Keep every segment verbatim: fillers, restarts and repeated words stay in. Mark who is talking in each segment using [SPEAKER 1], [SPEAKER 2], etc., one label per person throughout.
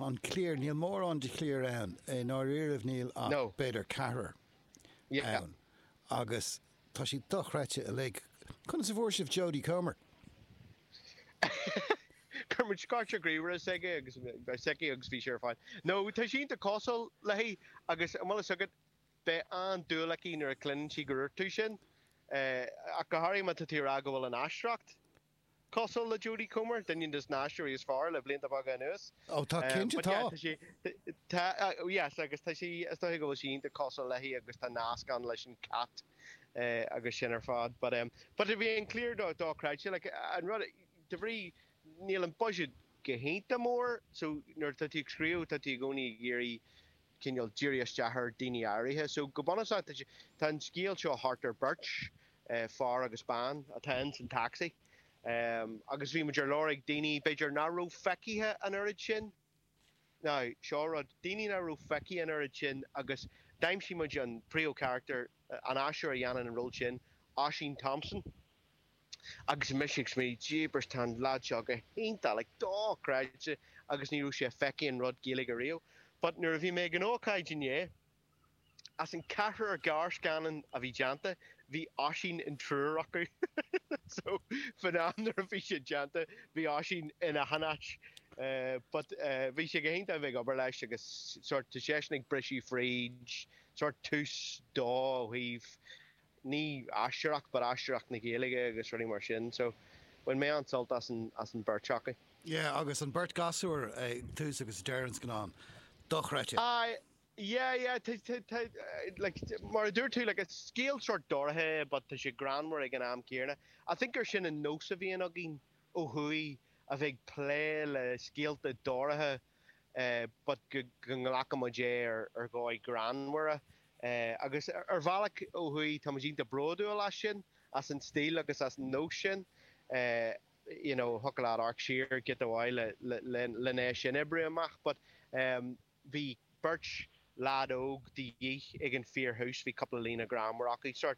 [SPEAKER 1] An cliar, níl mórán de chliar ann, i ndáiríribh níl ach
[SPEAKER 2] No.
[SPEAKER 1] b'fhéidir ceathrar
[SPEAKER 2] Yeah.
[SPEAKER 1] ann. Agus tá siad dochreidte uilig. Conas a fuair sibh Jodie Comer?
[SPEAKER 2] Chuir muid cárta ríomhaire s'aige agus s'aici agus bhí sé ar fáil. No, tá sí iontach cosúil léi agus an bhfuil fhios agat beidh an-dúil aici nuair a chluineann sí go dúirt tú sin. Eh, ach go háirithe má tá tú ag rá go bhfuil an aisteoireacht cosúil le Jodie Comer, duine des na haisteoirí is fearr le blianta beaga anuas.
[SPEAKER 1] Ó tá
[SPEAKER 2] Um,
[SPEAKER 1] cinnte
[SPEAKER 2] but yeah,
[SPEAKER 1] tá.
[SPEAKER 2] tá sí tá uh, yes, agus tá sí is dóigh go bhfuil sí iontach cosúil léi agus tá nasc ann leis an cat uh, agus sin ar fad. But um, but bhí an cliar do dochreidte like, an rud de bhrí níl an budget go hiontach mór, so nuair tá tú ag scríobh tá tú i gcónaí ag iarraidh cineál díriú isteach ar daoine áirithe. So go bunúsach tá sé- tá an scéal seo thart ar beirt uh, fear agus bean atá in san taxi. Um, agus bhí muid ar lorg daoine b'fhéidir nach raibh feicthe an oiread sin. Now, seo rud daoine nach raibh feicthe an oiread sin agus d'aimsigh muid an príomhcharachtar an aisteoir a dhéanann an ról sin, Oisín Thompson. Agus mise ag smaoineamh jeepers tá an lad seo go hiontach like, dochreidte agus ní raibh sé feicthe in rud Gaeilge riamh. But nuair a bhí mé ag an ócáid inné, as an ceathrar gearrscannán a bhí déanta, bhí Oisín in triúr acu. so fan am nuair a bhí sé déanta, bhí Oisín ina hanát. Uh, but uh, bhí sé go hiontach bheith ag obair leis agus sort tá seisean ag briseadh fríd, sort tús dó ó thaobh ní aisteoireacht, but aisteoireacht na Gaeilge agus rudaí mar sin. So bhain mé an-sult as an as an beirt acu.
[SPEAKER 1] Yeah, agus an beirt gasúr ag tús agus deireadh an scannáin. Dochreidte.
[SPEAKER 2] I yeah yeah tá tá tá like mar a dúirt tú like it's scéal sort dorcha but tá sé greannmhar ag an am céanna. I think gur sin an nós a bhíonn againn ó thuaidh a bheith plé le scéalta dorcha uh, but go go nglacaimid é ar ar dhóigh greannmhar. Uh, agus ar ar bhealach ó thuaidh tá muid iontach bródúil as sin as an stíl agus as an nós sin. Uh, you know, thiocfadh leat amharc siar giota amháin le le le lena sin oibriú amach, but um, bhí beirt lad óg de dhíth ag an fíorthús bhí cúpla líne greannmhar acu sort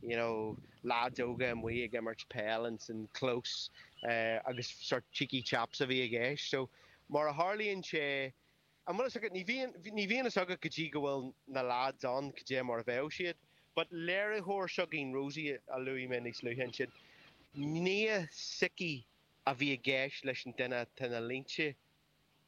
[SPEAKER 2] you know, lads óga amuigh ag imirt peil in san clós uh, agus sort cheeky chaps a bhí i gceist. So mar a tharlaíonn sé an bhfuil fhios agat ní bhíonn ní bhíonn fhios agat go dtí go bhfuil na lads ann go dté mar a bheadh siad, but léiritheoir s'againn Rosie a luaigh mé níos luaithe ansin. Nia s'aici a bhí i gceist leis an duine tá na línte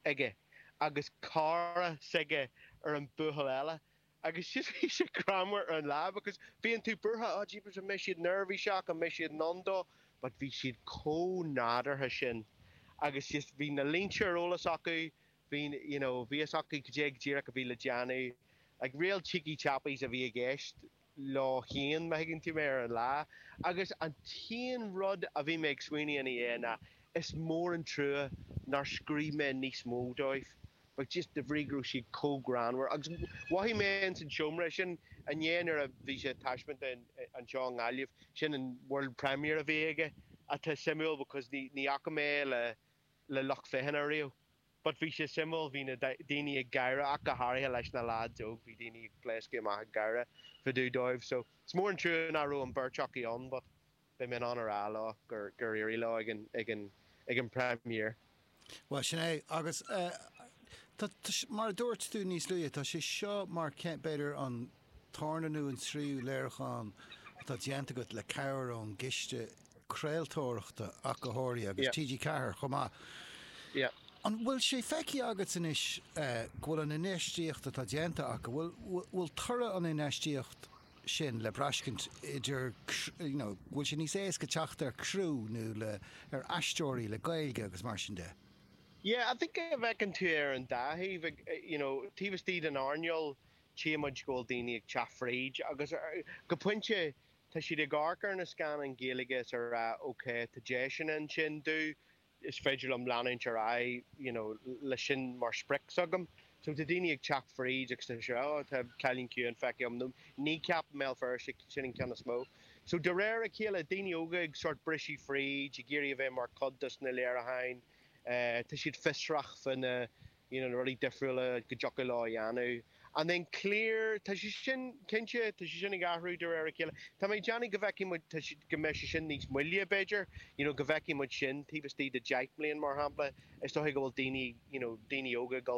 [SPEAKER 2] aige agus cara s'aige ar an buachaill eile. Agus just bhí sé greannmhar ar an lá because bíonn tú buartha á jeepers an mbeidh siad neirbhíseach an mbeidh siad in ann dó, but bhí siad chomh nádúrtha sin. Agus just bhí na línte ar eolas acu, bhí you know, bhí fhios acu go dé díreach a bhí le déanamh, like real cheeky chappies a bhí i gceist lá chéan má thuigeann tú mé ar an lá. Agus an t-aon rud a bhí mé ag smaoineamh ina dhiaidh ná is mór an trua nár scríobh mé níos mó dóibh. But just de bhrí go raibh siad chomh greannmhar. Agus mhothaigh mé in san seomra sin inné nuair a bhí sé taispeáint anseo i nGaillimh, sin an world premiere a bhí aige atá suimiúil because ní ní fhaca mé le le lucht féachana riamh. But bhí sé suimiúil bhí na daoine ag gáire ach go háirithe leis na lads óg, bhí daoine ag pléascadh amach ag gáire fá dtaobh dóibh. So is mór an trua nach raibh an beirt acu ann, but beidh mé in ann a rá leo gur gur éirigh leo ag an ag an ag an premiere.
[SPEAKER 1] Well sin é agus uh, tá, tá, mar a dúirt tú níos luaithe tá sé seo mar b'fhéidir an tarna nó an tríú léiriúchán atá déanta agat le cabhair ón gciste craoltóireachta ach go háirithe agus
[SPEAKER 2] Yeah.
[SPEAKER 1] TG Ceathair chomh maith.
[SPEAKER 2] Yeah.
[SPEAKER 1] An bhfuil sé feicthe agat anois uh, go bhfuil an infheistíocht atá déanta ach go bhfuil bhfuil toradh an infheistíocht sin le braiscint idir you know, bhfuil sé níos éasca teacht ar criú nó le ar aisteoirí le Gaeilge agus mar sin de.
[SPEAKER 2] Yeah, I think go bhfeiceann tú ar an dá thaobh ag you know, taobh istigh den earnáil tchímid go bhfuil daoine ag teacht fríd agus uh, go pointe tá siad ag amharc ar na scannáin Gaeilge is ar rá okay tá deiseanna ansin dú is féidir liom leanúint ar aghaidh you know, le sin mar sprioc agam. So tá daoine ag teacht fríd agus tá sé oh, tá Cailín Ciúin feicthe agam nó Kneecap Béal Feirste sin an ceann is mó. So de réir a chéile daoine óga ag sort briseadh fríd ag iarraidh a bheith mar chuid des na léiriúcháin, uh, tá siad fiosrach fá na you know, na rudaí difriúla go dtiocfadh leo a dhéanamh. And then cliar tá sé sin cinnte tá sé sin ag athrú de réir a chéile. Tá mé déanamh go bhfeicfidh muid tá sé- go mbeidh sé sin níos moille b'fhéidir, you know, go bhfeicfidh muid sin taobh istigh de deich mbliana mar shampla, is dóigh go bhfuil daoine you know, daoine óga ag dul